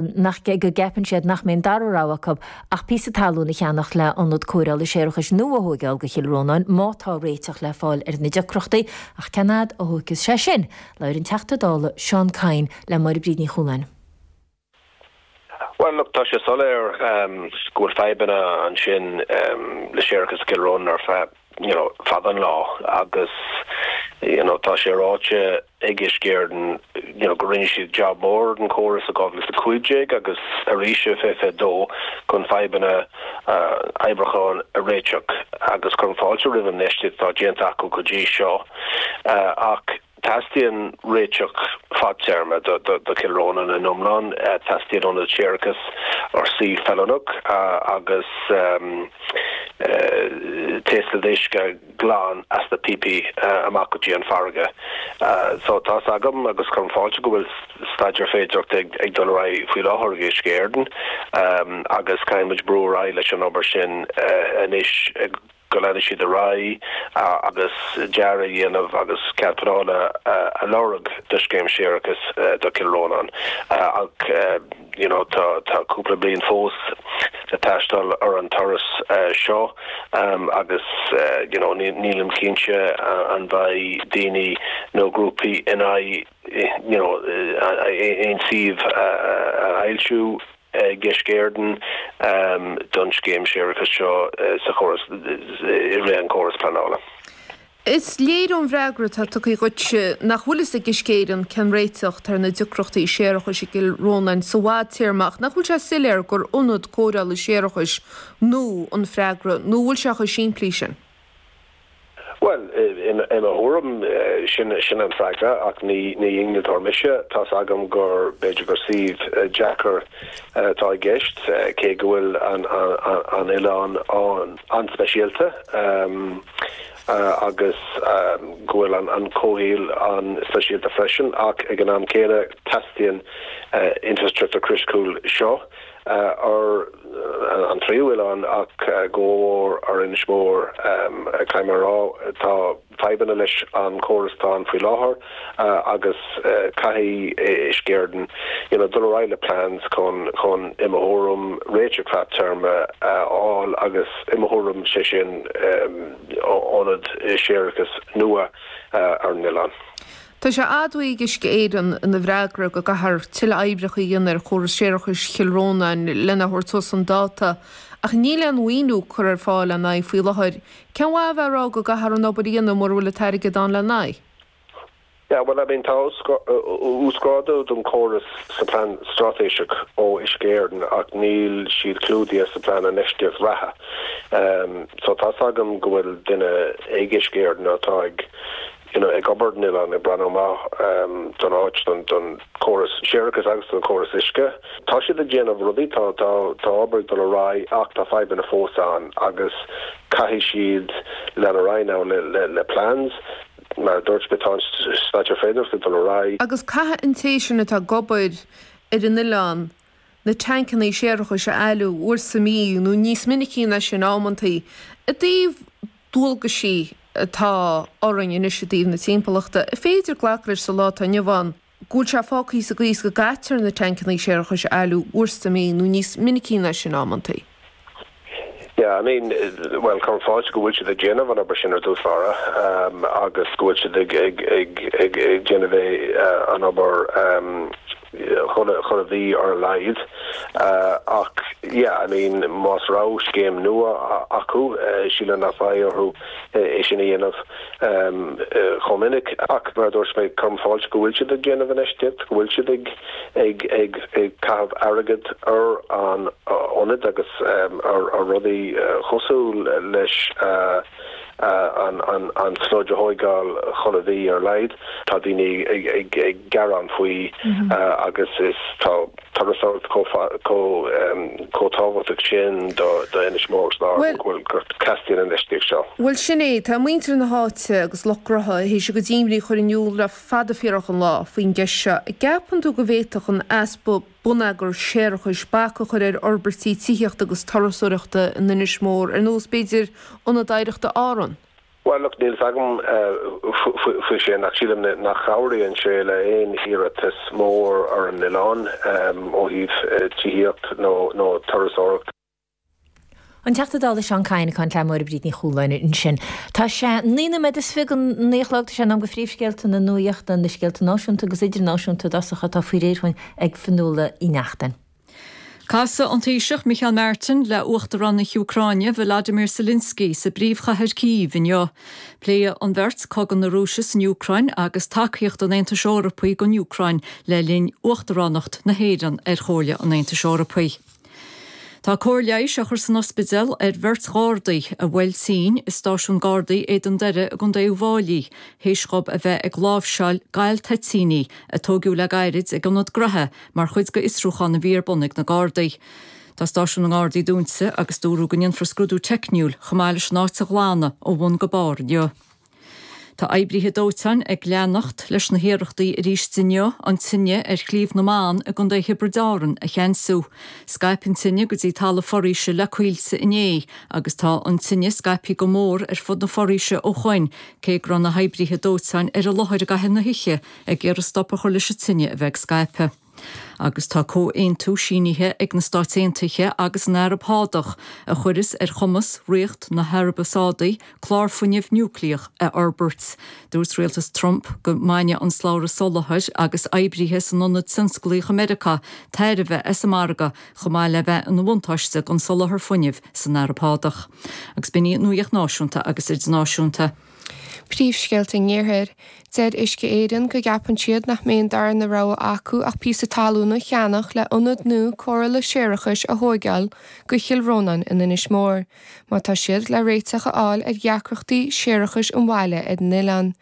Nach go gceapann siad nach mbeidh an dara rogha acu ach píosa talún a cheannach le ionad cóireála séarachais nua a thóigeáil do Chill Rónáin má tá réiteach le fáil ar na deacrachtaí, ach cén fhad a thóigfeas sé sin? Labhair an Teachta Dála Seán Kyne le Máire Bríd Ní Chualáin. Bhuel, look, tá sé soiléir go bhfuil fadhbanna ansin le séarachas i gCill Rónáin ar feadh, you know, fada an lá agus, you know, tá sé ráite ag Uisce Éireann, you know, go rinne siad jab mór den chóras i 2015 agus arís i 2022 chun fadhbanna oibriúcháin a réiteach agus cuirim fáilte roimh an infheistíocht atá déanta acu go dtí seo ach teastaíonn réiteach fadtéarma do Chill Rónáin in iomlán. Teastaíonn ionad séarachais ar suíomh feiliúnach agus taoslad uisce glan as na píopaí amach go dtí an farraige. So tá's agam agus cuirim fáilte go bhfuil staidéar féidearthachta ag dul ar aghaidh faoi láthair ag Uisce Éireann agus caithfidh muid brú ar aghaidh leis an obair sin anois go leanfaidh siad ar aghaidh agus dearadh a dhéanamh agus cead pleanála a lorg do scéim séarachais do Chill Rónáin ach you know tá tá cúpla bliain fós le taisteal ar an turas seo agus you know nílim cinnte an mbeidh daoine nó grúpaí in aghaidh you know aon suíomh a fhoilsiú. ag Uisce Éireann don scéim séarachais seo sa chóras, i rith an chóras pleanála. Is léir ón bhfreagra atá tugtha dhuit nach bhfuil fhios ag Uisce Éireann cén réiteach atá ar na deacrachtaí séarachais i gCill Rónáin sa bhfadtéarma ach nach bhfuil sé soiléir gur ionad cóireála séarachais nua an freagra nó an bhfuil sé chomh simplí sin? Bhuel, i mo thuairim, sin sin an freagra, ach ní ní innealtóir mise. Tá's agam gur, b'fhéidir gur suíomh deacair atá i gceist, cé go bhfuil an an oileán an-speisialta agus go bhfuil an an comhshaol an-speisialta freisin, ach ag an am céanna teastaíonn infrastruchtúr criticiúil seo. ar an tríú oileán ach go mór ar Inis Mór. Caithfidh mé a rá, tá fadhbanna leis an chóras atá ann faoi láthair agus caithfidh Uisce Éireann you know dul ar aghaidh le plans chun chun i mo thuairim réiteach fadtéarma a fháil agus i mo thuairim sé sin ionad séarachais nua ar an oileán. Tá sé admhaithe ag Uisce Éireann ina bhfreagra go gcaithfear tuilleadh oibreacha a dhéanamh ar chóras séarachais Chill Rónáin lena thabhairt suas chun dáta, ach níl aon mhaoiniú curtha ar fáil lena aghaidh faoi láthair. Cén mhaith a bheith ag rá go gcaithfear an obair a dhéanamh mura bhfuil an t-airgead ann lena aghaidh? Yeah, well, I mean, tá uasghrádú don chóras sa plean straitéiseach ó Uisce Éireann ach níl siad clúdaithe sa plean infheistíocht reatha. So tá's agam go bhfuil duine ag Uisce Éireann atá ag you know ag obair ar an oileán, ag breathnú amach don áit, don don chóras séarachais agus don chóras uisce. Tá siad ag déanamh rudaí, tá tá tá obair ag dul ar aghaidh ach tá fadhbanna fós ann agus caithfidh siad lean ar aghaidh now le le le plans. Mar a dúirt mé, tá an staidéar féidearthachta ag dul ar aghaidh. Agus caithfidh an té sin atá ag obair ar an oileán na tancannaí séarachais a fhailiú uair sa mhí nó níos minicí ná sin amantaí. I dtaobh dualgaisí atá orainn anois i dtaobh na timpeallachta, an féidir glacadh leis sa lá atá inniu ann go bhfuil sé fágtha sa gcaoi is go gcaitear na tancannaí séarachais a fhailiú uair sa mhí nó níos minicí ná sin amantaí. Yeah, I mean, bhuel, cuirim fáilte go bhfuil siad ag déanamh an obair sin ar dtús báire agus go bhfuil siad ag ag ag ag ag déanamh é an obair chuile mhí ar a laghad. Ach yeah, I mean, más raibh scéim nua acu, sílim nach mbeidh orthu é sin a dhéanamh chomh minic. Ach mar a dúirt mé, cuirim fáilte go bhfuil siad ag déanamh infheistíocht, go bhfuil siad ag ag ag ag caitheamh airgead ar an ionad agus ar ar rudaí cosúil leis an sludge a thóigeáil chuile mhí ar a laghad. Tá daoine ag gearán faoi agus is tá turasóireacht chomh tábhachtach sin do Inis Mór agus Árainn go bhfuil go dteastaíonn an infheistíocht seo. Bhuel sin é, tá muintir na háite agus lucht gnótha théis a gcuid imní a chur in iúl le fada fíorach an lá faoin gceist seo. An gceapann tú go bhféadfadh an easpa bonneagar séarachais bac a chur ar fhorbairtí tithíochta agus turasóireachta in Inis Mór, ar nós, b'fhéidir, Ionad Oidhreachta Árann? Bhuel, look, níl 's agam faoi sin ach sílim nach chabhraíonn sé le aon iarratas mór ar an oileán ó thaobh tithíocht nó turasóireacht. An Teachta Dála Seán Kyne ag caint le Máire Bríd Ní Chualáin ansin. Tá sé 9 nóiméad is 20 go 9 a chlog, tá sé in am do phríomhscéalta na nuachta, na scéalta náisiúnta agus idirnáisiúnta i dtosach atá faoi réir dhúinn ag Fionnuala Uí Neachtain. Casfaidh an Taoiseach Micheál Martin le Uachtarán na hÚcráine Volodymyr Zelensky sa bpríomhchathair Cív inniu. Pléifidh an bheirt cogadh na Rúise san Úcráin agus tacaíocht an Aontais Eorpaigh don Úcráin le linn Uachtaránacht na hÉireann ar Chomhairle an Aontais Eorpaigh. Tá cóir leighis á chur san ospidéal ar bheirt Ghardaí a bhuail tinn i stáisiún Gardaí Éadan Doire i gContae Uíbh Fháilí théis dhóibh a bheith ag láimhseáil gal toitíní a tóigeadh le gairid ag ionad graithe mar chuid d'fhiosrúchán a bhí ar bun ag na Gardaí. Tá stáisiún na nGardaí dúnta agus dúradh go ndéanfar scrúdú teicniúil chomh maith leis an áit a ghlanadh ó bhun go barr inniu. Tá oibríthe dóiteáin ag leanacht leis na hiarrachtaí arís inniu an tine ar Shliabh na mBan i gContae Thiobraid Árann a cheansú. Scaip an tine go dtí talamh foraoise le coillte inné agus tá an tine scaipthe go mór ar fud na foraoise ó shoin cé go raibh na hoibríthe dóiteáin ar an láthair i gcaitheamh na hoíche ag iarraidh stop a chur leis an tine a bheith ag scaipeadh. Agus tá comhaontú sínithe ag na Stáit Aontaithe agus an Araib Shádach a chuirfeas ar chumas Ríocht na hAraibe Sádaí clár fuinnimh núicléach a fhorbairt. Dúirt rialtas Trump go mbainfeadh an slabhra soláthair agus oibrithe san ionad tionsclaíoch i Meiriceá tairbhe as an margadh chomh maith le bheith ina bhuntáiste don soláthar fuinnimh san Araib Shádach. Agus b'in í an nuacht náisiúnta agus idirnáisiúnta. Príomhscéalta an Iarthair. Deir Uisce Éireann go gceapann siad nach mbeidh an darna rogha acu ach píosa talún a cheannach le ionad nua cóireála séarachais a thóigeáil go Chill Rónáin in Inis Mór, má tá siad le réiteach a fháil ar dheacrachtaí séarachais an bhaile ar an oileán.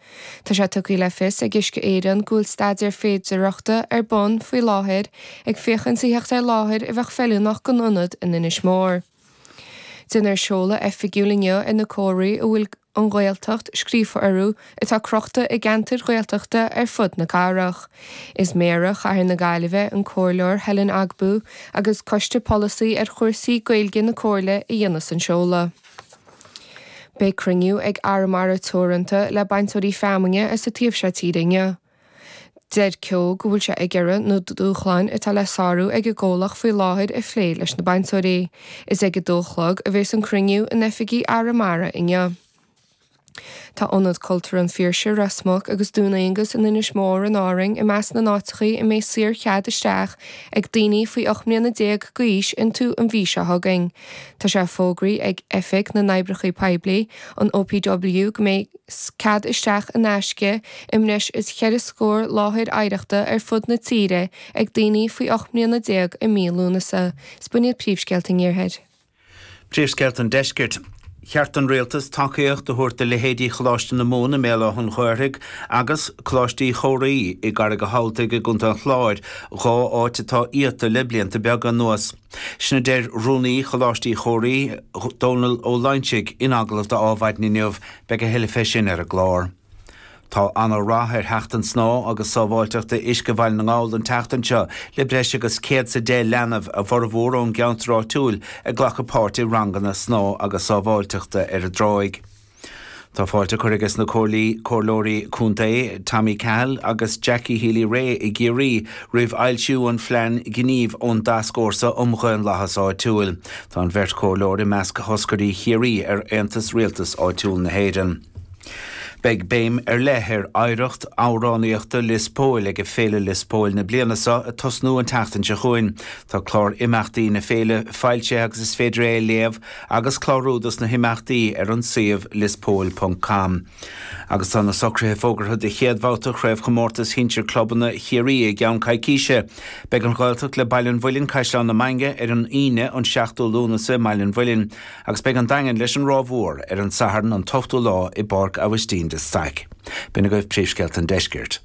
Tá sé tugtha le fios ag Uisce Éireann go bhfuil staidéar féidearthachta ar bun faoi láthair ag féachaint a theacht ar láthair a bheadh feiliúnach don ionad in Inis Mór. Déanfar seoladh oifigiúil inniu ar na comharthaí a bhfuil An Ghaeltacht scríofa orthu atá crochta i gceantair Ghaeltachta ar fud na cathrach. Is Méara Chathair na Gaillimhe, an Comhairleoir Helen Ogbu agus Coiste Polasaí ar chúrsaí Gaeilge na Comhairle a dhéanfas an seoladh. Beidh cruinniú ag Arramara Teoranta le bainteoirí feamainne as an taobh seo tíre inniu. Deir Keogh go bhfuil sé ag iarraidh na dúshláin atá le sárú ag an gcomhlacht faoi láthair a phlé leis na bainteoirí. Is ag a dó a chlog a bhéas an cruinniú in oifigí Arramara inniu. Tá Ionad Cultúrtha an Phiarsaigh, Ros Muc agus Dún Aonghus in Inis Mór in Árainn i measc na n-áiteachaí a mbeidh saor-chead isteach ag daoine faoi 18 mbliana d'aois iontu an mhí seo chugainn. Tá sé fógraithe ag Oifig na nOibreacha Poiblí, an OPW, go mbeidh. cead isteach in aisce i mbreis is cheithre scór láthair oidhreachta ar fud na tíre ag daoine faoi 18 mbliana i mí Lúnasa. Is b'in iad príomhscéalta an Iarthair. Príomhscéalta an Deiscirt. Cheart don Rialtas tacaíocht a thabhairt do leithéidí Choláiste na Mumhan i mBéal Átha an Ghaorthaidh agus Coláiste Uí Chomhraí i gCarraig a' Thamhaltaigh i gContae an Chláir, 2 áit atá iata le blianta beaga anuas. Sin a deir Rúnaí Choláiste Uí Chomhraí, Dónal Ó Loingsigh, in agallamh do Adhmhaidin inniu. Beidh a thuilleadh fé sin ar an gclár. Tá ana-rath ar Sheachtain Snámha agus Sábháilteachta Uisce Bhaile na nGall an tseachtain seo, le breis agus 110 leanbh, a bhformhór ón gceantar áitiúil, ag glacadh páirt i ranganna snámha agus sábháilteachta ar an dtráigh. Tá fáilte curtha aige na Comhairleoirí Contae, Tommy Cahill agus Jackie Healy-Rae i gCiarraí roimh fhoilsiú an phlean gnímh ón dTascfhórsa um Dhaonlathas Áitiúil. Tá an bheirt chomhairleoir i measc thoscairí Chiarraí ar Aontas Rialtas Áitiúil na hÉireann. Beidh béim ar leith ar oidhreacht amhránaíochta Lios Póil ag Féile Lios Póil na bliana seo ag tosnú an tseachtain seo chugainn. Tá clár imeachtaí na féile foilsithe agus is féidir é a léamh agus clárú dos na himeachtaí ar an suíomh liospóil ponc com. Agus tá na socruithe fógartha do chéad bhabhta Chraobhchomórtas Shinsir Clubanna Chiarraí i gceann coicíse. Beidh an Ghaeltacht le Baile an Mhuilinn, Caisleán na Mainge ar an Aoine an 7ú Lúnasa i mBaile an Mhuilinn agus beidh an Daingean leis an Ráth Mhór ar an Satharn an t-ochtú lá i bPáirc Aibhistín de Staic. B'in agaibh príomhscéalta an deiscirt.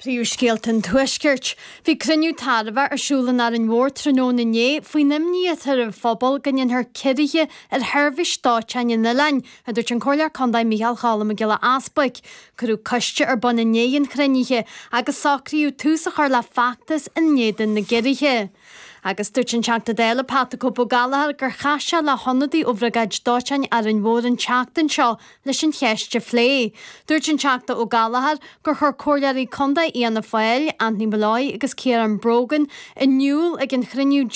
Príomhscéalta an Tuaiscirt. Bhí cruinniú tairbheach ar siúl in Árainn Mhór tráthnóna inné faoin imní atá ar an phobal go ndéanfar ciorruithe ar sheirbhís dóiteáin an oileáin, a dúirt an Comhairleoir Contae Micheál Cholm Mac Giolla Easbuic. Cuireadh coiste ar bun i ndiaidh an chruinnithe agus socraíodh tús a chur le feachtas in éadan na gciorruithe. Agus dúirt an Teachta Dála Pat 'The Cope' Ó Gallchóir gur chas sé le hionadaí ó Bhriogáid Dóiteáin Árainn Mhór an tseachtain seo leis an cheist a phlé. Dúirt an Teachta Ó Gallchóir gur chuir Comhairleoirí Contae Fhianna Fáil, Anthony Molloy agus Ciarán Brogan, in iúl ag an chruinniú.